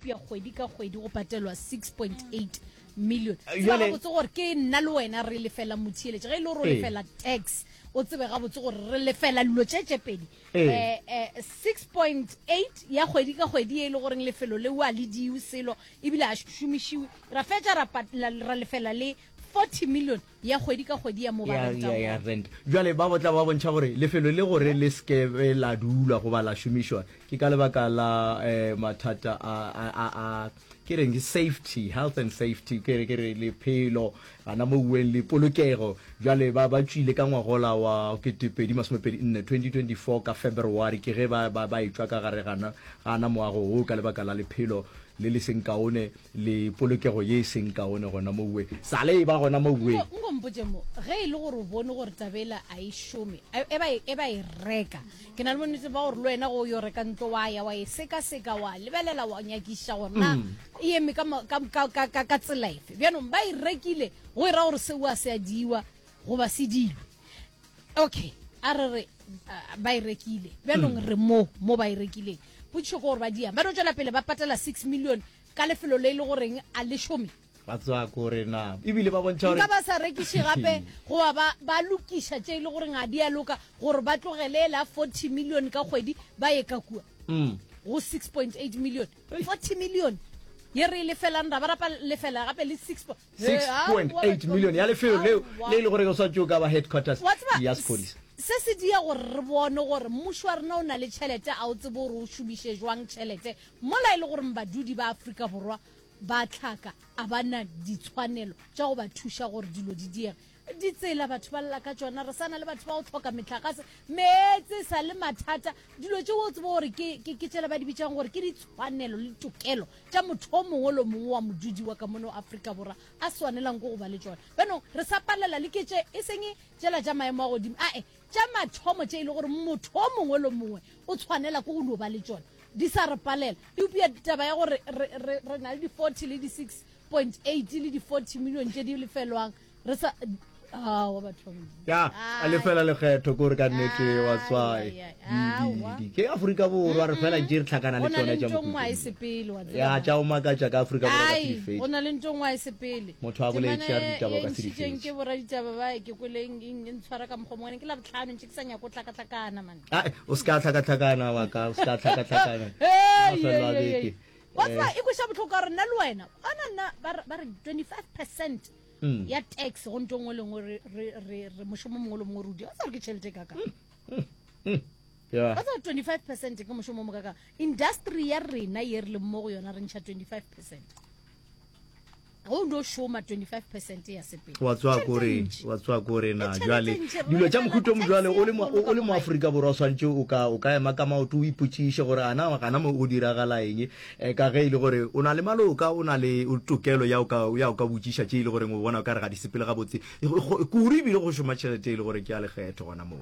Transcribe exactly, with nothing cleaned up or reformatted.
Eupša kgwedi ka kgwedi go patelwa six point eight million. Eh, Tseba bjale- gabotse gore ke nna le wena re lefela motheeletši. Ge e le gore o Ee. lefela tax, o tsebe gabotse gore re lefela dilo tše tše pedi. Ee. Eh, eh, six point eight ya kgwedi ka kgwedi e le goreng lefelo leo a le diwe selo ebile a šomišiwe, ra fetša ra pat-, la, ra lefela le forty million ya kgwedi ka kgwedi ya mo ba Ya, rentang ya, ya gona. rent. Bjale ba botla ba bontšha gore lefelo le gore le seke be la dulwa goba la šomišwa ke ka lebaka la, eh, mathata a, a, a, a, ke reng ke safety, health and safety, ke re, ke re lephelo gana mo uweng le polokego. Bjale ba, ba tšwile ka ngwagola wa ketepedi masomepedi nne, twenty twenty-four, ka February, ke ge ba, ba, ba etšwa ka gare gana, gana moago wo ka lebaka la lephelo le le seng kaone le polokego ye e seng kaone gona mo uweng. Sale e ba gona mo uweng. Nko, nko mpotše mo, ge e le gore o bone gore tabela a e šome, e, e ba e, e ba e reka, ke na le bonnete ba gore le wena go yo reka ntlo wa ya wa e sekaseka, wa lebelela, wa nyakiša gore na Mm. e eme ka ma-, ka, ka, ka, ka, ka tsela efe. Bjanong ba e rekile go e ra gore seo a se a diwa goba se dilwe. Okay, a re re, a, ba e rekile. Bjanong Mm. re mo, mo ba e rekileng. Potšišo ke gore ba diang. Ba no tšwela pele ba patela six million ka lefelo le e le goreng a le šome. Ba tswa ko re na. Ebile ba bontšha gore Nka ba sa rekiše gape goba ba, ba lokiša tše e le goreng a di a loka gore ba tlogele la forty million ka kgwedi ba ye ka kua. Mm. Go six point eight million. Ei. forty million. Ye re e lefelang ra ba rapa lefela gape le six po-, six Eh, point aowa, eight batho ba million ya lefelo leo, Aowa. le e le gore go swanetše o ka ba headquarters Wa tseba, ya sephodisa. se se dia gore re bone gore mmušo wa rena o na le tšhelete, a o tsebe gore o šomiše jwang tšhelete mola e le gore badudi ba Afrika Borwa ba tlhaka a ba na ditshwanelo tša go ba thuša gore dilo di diege. Ditsela batho ba lla ka tšona, re sana le batho ba go tlhoka metlakase, meetse sa le mathata, dilo tše o tsebe gore ke, ke, ke tšela ba di bitsang gore ke ditshwanelo le tokelo tša motho o mongwe le mongwe wa modudi wa ka mono Afrika Borwa a swanelang ke go ba le tšona. Bjanong re sa palela le ke tše e seng tšela tša maemo a godimo, ae tša mathomo tše e le gore motho o mongwe le mongwe o tshwanela ke go no ba le tšona, di sa re palela. Eupša taba ya gore re, re, re na le di-forty le di-six point eight le di-forty million tše di lefelwang, re sa, aowa, batho ba Modimo. Ya, a lefela lekgetho, ke gore ka nnete wa tswa, Ai, ai, ai, di, di, aowa. di. Ke Afrika Borwa, re fela tše re tlhakana le Go na le tšona tša ntho nngwe ha e mokhukhung. sepele, wa tseba. Ya, tša go makatša ka Afrika Borwa ka Ai, se di fetše. go na le ntho nngwe ha e sepele. Motho a boletše a re Temana ditaba e ka se di ntšhitšeng fetše. ke boraditaba ba, ke kwele eng, eng, e ntshwara ka mokgwa o mongwe, ke Labohlano, ntše ke sa nyake go tlhakatlhakana, man. Ai, o se ka tlhakatlhakana, wa ka, o se ka tlhakatlhakana. Hei, Mafelo a hei, hei, beke. hei. Wa tseba, Eh. e kweša bohloko ka gore nna le wena, ona nna, ba re, ba re twenty-five percent Mm. ya tax go ntho nngwe le nngwe re, re, re, re mošomo mongwe le mongwe re o dira. Wa tseba gore ke tšhelete e kakang? Mm. Mm. Yeah. Wa tseba twenty-five percent ke mošomo o mo kakang. Industry ya rena ye re leng mo go yona re ntšha twenty-five percent. Ge o no šoma twenty-five percent ya sepele. Wa tswa Tšhelete ko re, e ntši. wa tswa ko re na, E tšhelete jwale, e ntši, re dilo tša lefela mohuta o mo jwale, o le mo, tax ya o le mo kgolo ka Afrika Borwa, o swantše o ka, o ka ema ka maoto, o ipotšiše gore ana gana mo go diragala eng, eh, ka ge e le gore o na le maloka, o na le tokelo ya o ka, ya o ka botšiša tše e le goreng o bona o ka re ga di sepele gabotse. Kudu ebile go šoma tšhelete e le gore ke ya lekgetho gona moo.